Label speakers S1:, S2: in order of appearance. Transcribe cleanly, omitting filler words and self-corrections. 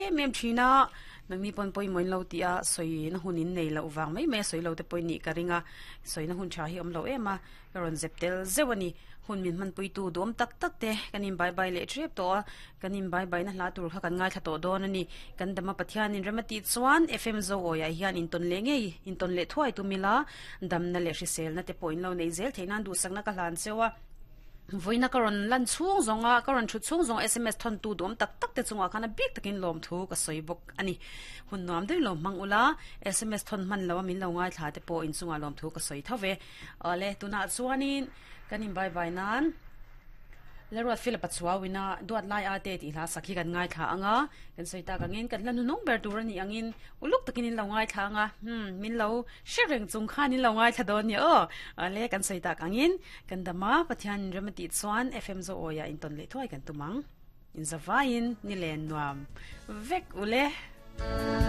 S1: Em em thin a, nangni pawn pawimawh in lo tih a, sawina hun in nei loh vang mai mai a sawi lo te pawhin nih ka ring a, sawina hun tha hi a awm lo em a, ka rawn zep tel zeuh a ni. Hun min hmanpuitu duhawm tak tak te kan in bye bye leh tep tawh a, kan in bye bye na hla tur kha kan ngaithla tawh dawn a ni. Kan dama Pathianin rem a tih chuan FM Zoawiah hian intawn leh ngei, intawn leh thuai tum ila, damna leh hriselna te pawh in lo nei zel theih nan duhsakna ka hlan cheu a. Vawiina ka rawn lan chhung zawnga ka rawn thut chhung zawnga sms thawntu duhawm tak tak te chungah khan a bik takin lawmthu ka sawi bawk a ni. Hun nuam deuhin lo hmang ula, sms thawn hman loa min lo ngaithla te pawh inchungah lawmthu ka sawi tho ve. Awle, tunah chuanin kan in bye bye nan Lalruat Philip-a chuauina duat lai a te tih hla sak hi kan ngaithla ang a, kan sawi tak angin kan hla hnunung ber tur a nih angin uluk takin in lo ngaithla ang a, hmm, min lo hre reng chung khan in lo ngaithla dawn nia aw. Awle, kan sawi tak angin Kan dam a, Pathian rem a tih chuan FM Zoawiah intawn leh thuai kan tum ang. Inzavaiin ni len nuam vek ule.